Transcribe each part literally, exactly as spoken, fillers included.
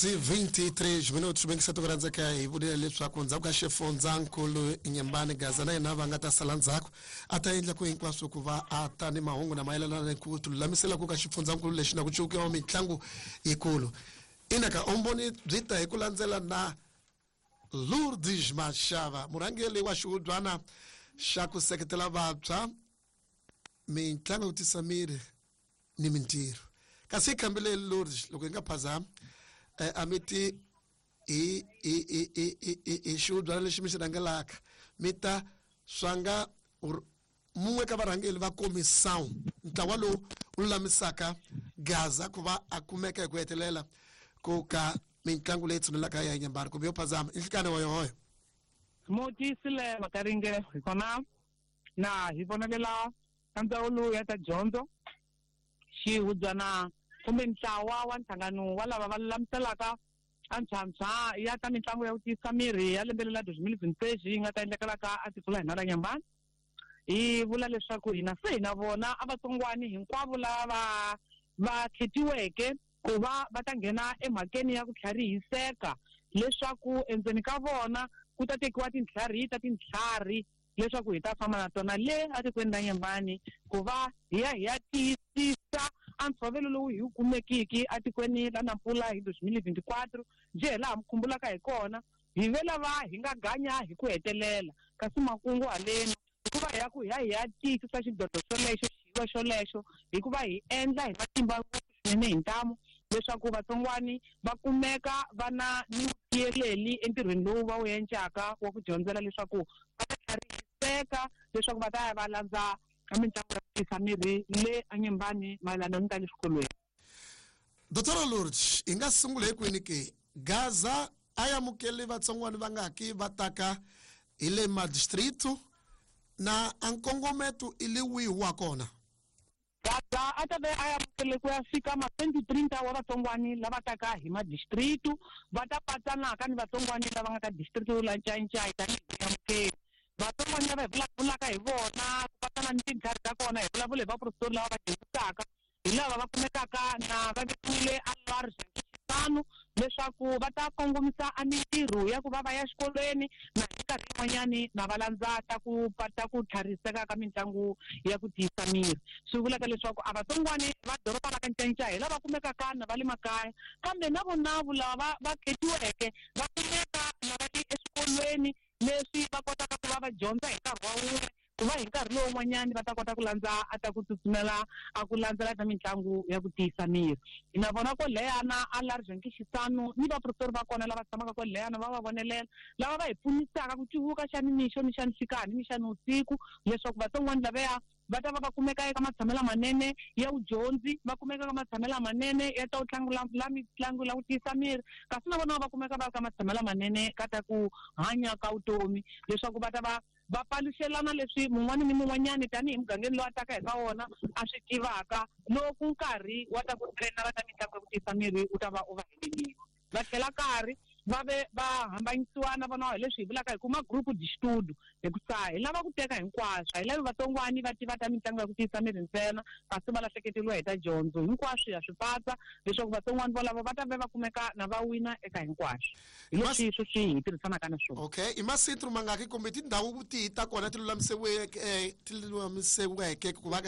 vinte e três minutos, bem que se rhandzeka hi vurile leswaku ndzhaku ka xifundzankulu Nyembani Gaza na yena va nga ta sala ndzhaku a ta endla ku hinkwaswo ku va a ta ni mahungu na mayelana ni ku tilulamisela ku ka xifundzankulu lexi na ku cukiwa mitlangu yikulu. Ina ka umboni byi ta hi ku landzela na Lourdes Mashava, murhangeri wa xihubyana xa ku seketela vantshwa mitlangu yo tisa miri ni mintirho. Kasi hi khambile Lourdes loko hi nga phazami eh, a mi ti hi hi hi hi hi hi hi xihubyana lexi mi xi rhangelaka mi ta swanga mun'we ka varhangeri va comissão ntlawa lowu wu lulamisaka Gaza ku va a kumeka hi ku hetelela ku ka mitlangu leyi tshunelaka ya Nyembani kumbe yo phazama i nhlikani wa yohoyo. Mutisile Makaringe hi kona na hi vonelela ka ndzawulo ya ta dyondzo xihubyana kumbe ntlawa wa nhlangano wa lava va lulamiselaka a ntshwantshwa ya ta mitlangu ya ku tiyisa miri ya lembe lela dos mil vinte e seis yi nga ta endlekelaka a tiko la hina la Nyembani. Hi vula leswaku hina se hi na vona a vatsongwani hinkwavo lava va khetiweke ku va va ta nghena emhakeni ya ku tlharihiseka leswaku endzeni ka vona ku ta tekiwa tintlhari ta tintlhari leswaku hi ta famba na tona le atikweni ra Nyembani ku va hi ya hi ya tiyisisa a ntshovelo lowu hi wu kumekiki atikweni ra Nampula hi dos mil vinte e quatro njhe hi laha mi khumbulaka hi kona hi ve lava hi nga ganya hi ku hetelela kasi makungu haleni hikuva hi ya ku hi ya hi ya tiyisisa xidlodlo xolexo xiyiwa xolexo hikuva hi endla hi matimba ngopfu swinene hi ntamu leswaku vatsongwani va kumeka va na ni vutiyeleli entirhweni lowu va wu endlaka wa ku dyondzela leswaku va ta tlharihiseka leswaku va ta ya va landza mitlangu ya ku tiyisa miri le eNyembani mayelana ni ta le swikolweni. Doctor Lourdes, hi nga sungula hi kwini ke? Gaza a amukeli vatsongwani va nga ki va taka hi le madistrito na a nkongometo i le wihi wa kona? Gaza a ta ve a amukele ku ya fika ma twenty trinta wa vatsongwani lava taka hi madistrito va ta patsanaka ni vatsongwani lava nga ka distrito la Ncayincai tanihi amukeli. Vatsongwani lava hi vulavulaka hi vona ku patsana ni tintlhari ta kona hi vulavula hi vaprofesori lava va dyondzisaka hi lava va kumekaka na va vekiwile a large xitanu leswaku va ta kongomisa a mintirho ya ku va va ya xikolweni na hi nkarhi yin'wanyani na va landza ta ku ta ku tlhariseka ka mitlangu ya ku tiyisa miri. Swi vulaka leswaku a vatsongwani va doroba la ka Ncayincai hi lava kumekaka na va le makaya kambe na vonavu lava va khetiweke va kumeka na va ri eswikolweni leswi va kotaka ku va va dyondza hi nkarhi wa wun'we ku va hi nkarhi lowun'wanyani va ta kota ku landza a ta ku tsutsumela a ku landzela ta mitlangu ya ku tiyisa miri. Hi na vona koleyana a large nkixisano ni vaprofesori va kona lava tshamaka koleyana va va vonelela lava va hi pfunisaka ku cuvuka xa nimixo ni xa nhlikani ni xa nivusiku leswaku vatsongwani lavaya va ta va va kumeka eka matshamelo manene ya vudyondzi va kumeka eka matshamelo manene ya ta ku tlangula la mitlangu la ku tiyisa miri kasi na vona va kumeka va ri ka matshamelo manene ka ta ku hanya ka vutomi leswaku va ta va va paluxelana leswi mun'wani ni mun'wanyani tanihi mugangeni lowu a taka hi ka wona a swi tivaka loko nkarhi wa ta ku trainela ta mitlangu ya ku tiyisa miri wu ta va u va helelile. Va tlhela karhi va ve va hambanyisiwa na vona hi leswi hi vulaka hi kuma group de estudo hikusa hi lava ku teka hinkwaswo a hi lavi vatsongwani va tiva ta mitlangu ya ku tiyisa miri ntsena kasi va lahleketeriwa hi ta dyondzo hinkwaswo ya swi patsa leswaku vatsongwani volavo va ta ve va kumeka na va wina eka hinkwaswo hi leswi sweswi hi tirhisanaka na swona. Okay, i masintru mangaki kumbe tindhawu tihi ta kona ti lulamiseweke ti lulamiseweke ku va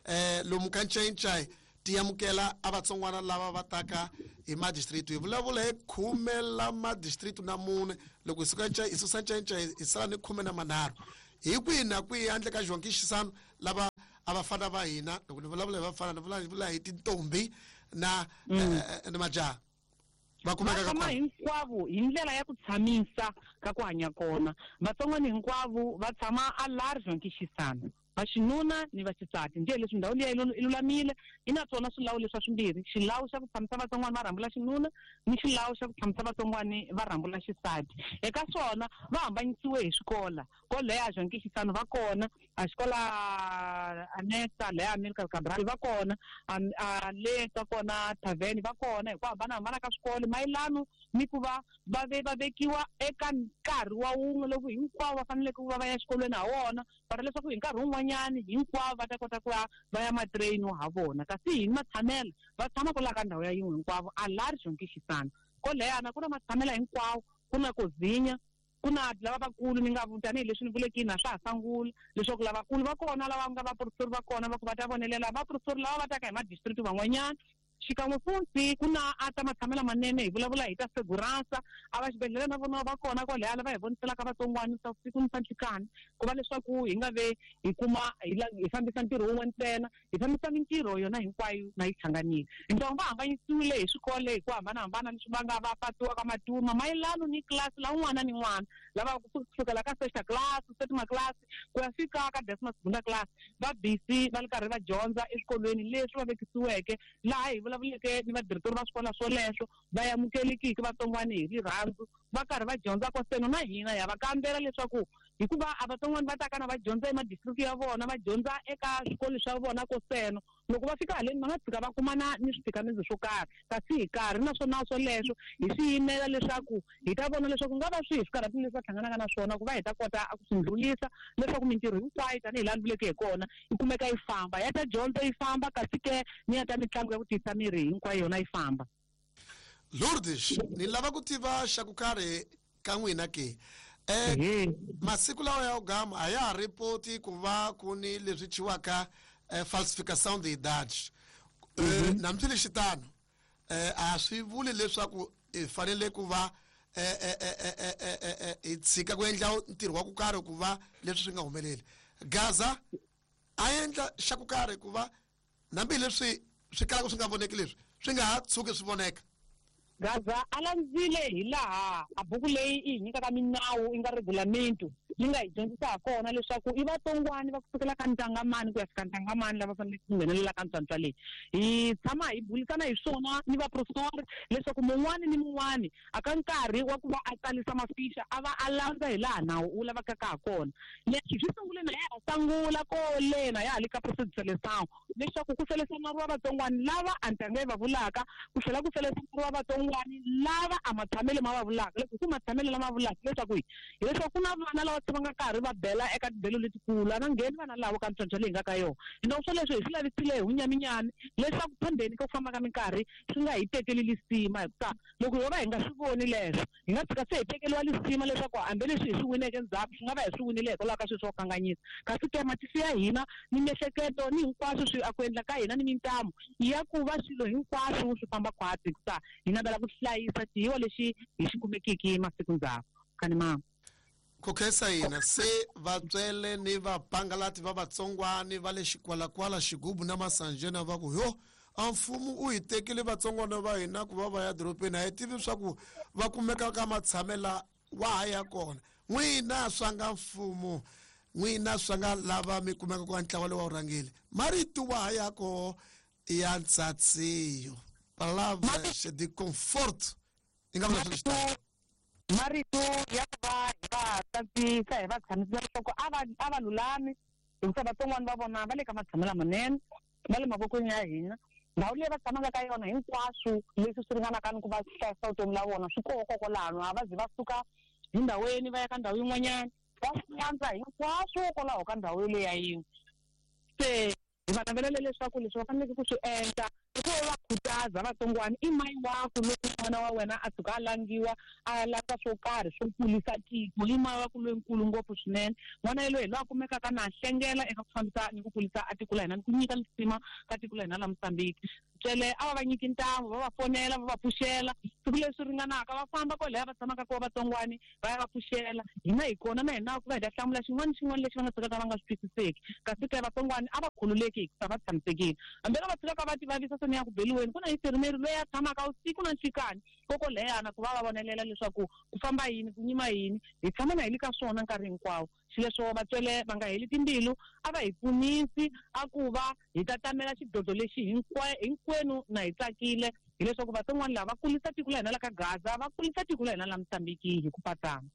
eh lomu ka Ncayincai ti amukela a vatsongwana lava va taka hi madistrito hi vulavula hi khume la madistrito na mune loko hi suka hi susa Ncayincai hi sala ni khume na manharhu hi kwihi na kwihi handle ka João Xisano lava a vafana va hina loko ni vulavula hi vafana ni vulavula hi tintombi na ni majaha va kumeka ka kona hinkwavo hi ndlela ya ku tshamisa ka ku hanya kona vatsongwana hinkwavo va tshama a large João Xisano vaxinuna ni vaxisati njhe leswi ndhawu liya i lulamile yi na swona swilawu leswa swimbirhi xilawu xa ku tshamisa vatsongwani va rhambula xinuna ni xilawu xa ku tshamisa vatsongwani va rhambula xisati eka swona va hambanyisiwe hi swikola koleya João Xisano va kona a xikola Anesta leya Amilcar Cabral va kona a le ka kona Tavern va kona hi ku hambanahambana ka swikolo mayelano ni ku va va ve va vekiwa eka nkarhi wa wun'we loko hinkwavo va faneleke ku va va ya xikolweni ha wona va leswaku hi nkarhi wun'wanyani hinkwavo va ta kota ku va va ya matrain ha vona kasi hi matshamelo va tshama kwala ka ndhawu ya yin'we hinkwavo a large João Xisano Koleyana ku na matshamela hinkwawo, ku na kozinya, ku na lava vakulu ni nga tanihileswi ni vuleki na swa ha sangula leswaku lavakulu va kona lava nga vaprofesori va kona va ku va ta vonelela vaprofesori lava va taka hi madistrict van'wanyana. Xikan'we futhi ku na a ta matshamela manene hi vulavula hi ta segurança a va xibedhlele na vona va kona kwalaya va hi voniselaka vatsongwana swa siku ni swa nhlikani ku va leswaku hi nga ve hi kuma hi hi fambisa ntirho wun'we ntsena, hi fambisa mintirho yona hinkwayo na yi hlanganile. Ntongo va hambanyisiwile hi swikolo hi ku hambanahambana leswi va nga va patiwa ka matuma mayelano ni class la un'wana ni n'wana lava kusukela ka sexta class, septima class ku ya fika ka décima segunda class va busy va ri karhi va dyondza eswikolweni leswi va vekisiweke laha hi vulavuleke ni vadirektori va swikolo swoleswo va amukelekiki vatsongwana hi rirhandzu va karhi va dyondza koseno na hina ya va kambela leswaku hikuva a vatsongwana va taka na va dyondza emadistrict ya vona va dyondza eka swikolo swa vona koseno loko va fika haleni va nga tshika va kumana ni switikamiso swo karhi kasi hi karhi naswona swoleswo hi swi yimela leswaku hi ta vona leswaku nga va swihi swikarhati leswi va hlanganaka na swona ku va hi ta kota ku swi ndlulisa leswaku mintirho hinkwayo tanihi laha ni vuleke hi kona yi kumeka yi famba ya ta dyondzo yi famba kasi ke ni ya ta mitlangu ya ku tiyisa miri hinkwayo yona yi famba. Lourdes, ni lava ku tiva xa ku karhi ka n'wina ke eh masiku lawa ya gama a ya ha ripoti ku va ku ni leswi chiwaka eh, falsificação de idades. Eh, namsile xitano eh a swi vuli leswaku hi fanele ku va eh eh eh eh eh hi tshika ku endla ntirho wa ku karhi ku va leswi swi nga humeleli. Gaza a endla xa ku karhi ku va nambi leswi swi kalaka swi nga voneki leswi swi nga ha tshuki swi voneka. Gaza a landzile hi laha a buku leyi yi hi nyikaka minawu yi nga regulamento yi nga hi dyondzisa ha kona leswaku i vatsongwana va kusukela ka ntangamani ku ya fika ntangamani lava faneleke ku nghenelela ka ntswantswa leyi. Hi tshama hi bulisana hi swona ni vaprofesori leswaku mun'wani ni mun'wani a ka nkarhi wa ku va a tsalisa mafixa a va a landza hi laha nawu wu lavekaka ha kona. Leswi swi sungule na ya ha sangula kole na ya ha le ka procedure leswaku ku selesanariwa vatsongwana lava a ntanga yi va vulaka ku tlhela ku selesanariwa vatsongwana lava a matshamelo ma va vulaka leswaku ku matshamelo lama vulaka leswaku hi hileswaku ku na vana lava va nga karhi va bela eka tibelo letikulu a va ngheni vana lavo ka ntswantswa leyi nga ka yona. Hinoko swoleswo hi swi lavisile hi vunyaminyami leswaku phambeni ka ku famba ka minkarhi swi nga hi tekeli lisima hikuva loko ho va hi nga swi voni leswo hi nga tshika se hi tekeriwa lisima leswaku hambileswi hi swi wineke ndzhaku swi nga va hi swi winile hikwalaho ka swilo swo kanganyisa kasi ke matihlo ya hina ni miehleketo ni hinkwaswo swi a ku endla ka hina ni mintamu ya ku va swilo hinkwaswo swi famba khwatsi hikuva hi navela ku hlayisa xiyiwa lexi hi xi kumekiki masiku ndzhaku kani mama. Ku khensa hina se vatswele ni vapangalati va vatsongwani va le xikwalakwala xigubu na masanjena va ku yo a mfumo u hi tekile vatsongwana va hina ku va va ya dorobeni a hi tivi swa ku va kumeka ka matshamela wa ha ya kona. N'wina swa nga mfumo n'wina swa nga lava mi kumeka ka ntlawa lowu wa wu rhangile marito wa ha ya koho ya ntsatsiyo palavras de conforto yi nga vula swilo. Marito ya ku va hi va tsatsisa hi va tshamisa leswaku a va a va lulami hikuva vatsongwana va vona va le ka matshamelo lamanene va le mavokweni ya hina ndhawu leyi va tshamaka ka yona hinkwaswo leswi swi ringanaka ni ku va hlayisa vutomi la vona swi koho kokwalano a va zi va suka hi ndhawini va ya ka ndhawu yin'wanyana va swi landza hinkwaswo kwalaho ka ndhawu yoleyo ya yin'we. Se hi va navelele leswaku leswi va faneleke ku swi endla i ku va khutaza vatsongwana i mayi waku loko n'wana wa wena a tshuka a langiwa a landza swo karhi swo kulisa tiko i mayi waku loyinkulu ngopfu swinene n'wana yaloye hi loyi a kumekaka na hlengela eka ku fambisa ni ku kulisa a tiko la hina ni ku nyika lisima ka tiko la hina la Mozambique. Tswele a va va nyiki ntamu va va fonela va va pfuxela siku leswi ringanaka va famba kwalaya va tshamaka kona vatsongwani va ya va pfuxela hina hi kona na hina ku va hi ta hlamula xin'wana xin'wana lexi va nga tshikaka va nga swi twisiseki kasi ke vatsongwani a va khululeki hikuva va tshamisekile hambi va tshikaka va ti vavisa se ni ya ku beliweni ku na infirmeri loyi a tshamaka usiku na nhlikani kokoleyana ku va va vonelela leswaku ku famba yini ku nyima yini hi tshama na hi le ka swona nkarhi hinkwawo. Xileswo vatswele va nga heli timbilu a va hi pfunisi a ku va hi ta tamela xidlodlo lexi hinkwenu na hi tsakile hileswaku vatsongwana lava va kulisa tiko la hina la ka Gaza va kulisa tiko la hina la Mozambique hi ku patsana.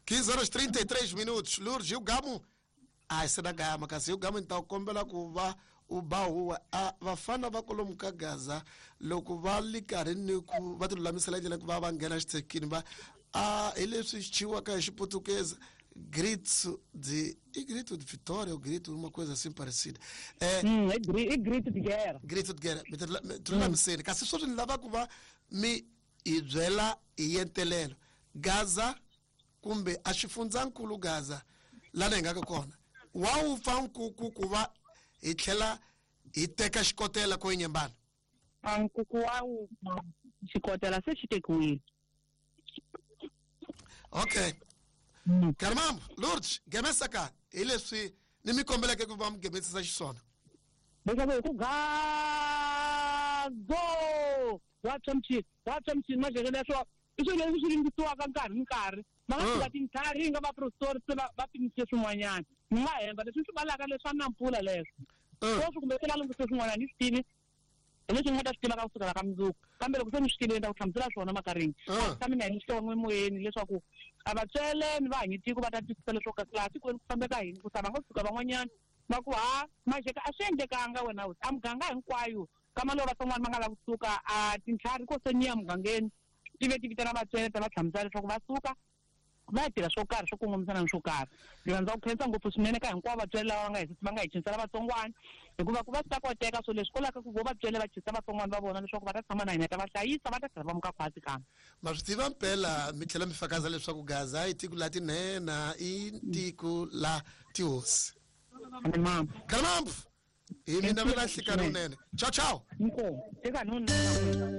quinze horas trinta e três minutos. Lourdes, e o Gamo? Ah, esse da Gama, kasi o Gamo então kombela ku va u ba huwa a vafana va kwalomu ka Gaza loko va li karhi ni ku va ti lulamisela ndlela ku va va nghena xithekini va a hi leswi chiwaka hi xiputukezi grito de e grito de vitória ou grito uma coisa assim parecida é hum, é grito de guerra grito de guerra mi ti lulamiseni kasi sweswi ni lava ku va mi Hi byela hi yentelelo Gaza kumbe a xifundzankulu Gaza lana hi nga ka kona wa wu pfa nkuku ku va hi tlhela hi teka xikotela ko Nyembani. A nkuku wa wu xikotela se xi tekiwile. Okay. Karimambu Lourdes gemesa ka hi leswi ni mi kombeleke ku va mi gemesisa xiswona. Leswaku hi ku gazo wa tshwa mchini wa tshwa mchini majeke leswo i swilo leswi swi ringisiwaka nkarhi ni nkarhi va nga fika tintlhari nga vaprofesori se va va pimise swin'wanyana ni nga hemba leswi swi valaka leswa na mpfula leswo sweswi kumbe se va lunghise swin'wanyana ni swi tivi hi leswi ni nga ta swi tiva ka kusukela ka mundzuku kambe loko se ni swi tivile ni ta ku hlamusela swona makarini a tshami na hi xin'we emoyeni leswaku a va tswele ni va hanyi tiko va ta twisisa leswaku kasi laha tikweni ku fambeka yini ku ta va nga suka van'wanyana va ku ha majeka a swi endlekanga wena hosi a muganga hinkwayo kama lowu vatsongwana va nga lava kusuka a tintlhari ko se ni ya mugangeni ti ve ti vitana vatswele ta va hlamusela leswaku va suka va ya tirha swo karhi swo kongomisana ni swo karhi. Ndzi rhandza ku khensa ngopfu swinene ka hinkwavo vatswele lava va nga hi va nga hi cincela vatsongwana hikuva ku va swi ta koteka so leswi kolaka ku vo vatswele va cinca vatsongwana va vona leswaku va ta tshama na hina ta va hlayisa va ta tlhela va muka khwatsi kambe. Ma swi tiva mpela mi tlhela mi fakaza leswaku Gaza i tiko la tinhenha i tiko la tihosi. Karimambu hi mi navela nhlikani wunene. Ciao ciao. Inkomu eka nuna.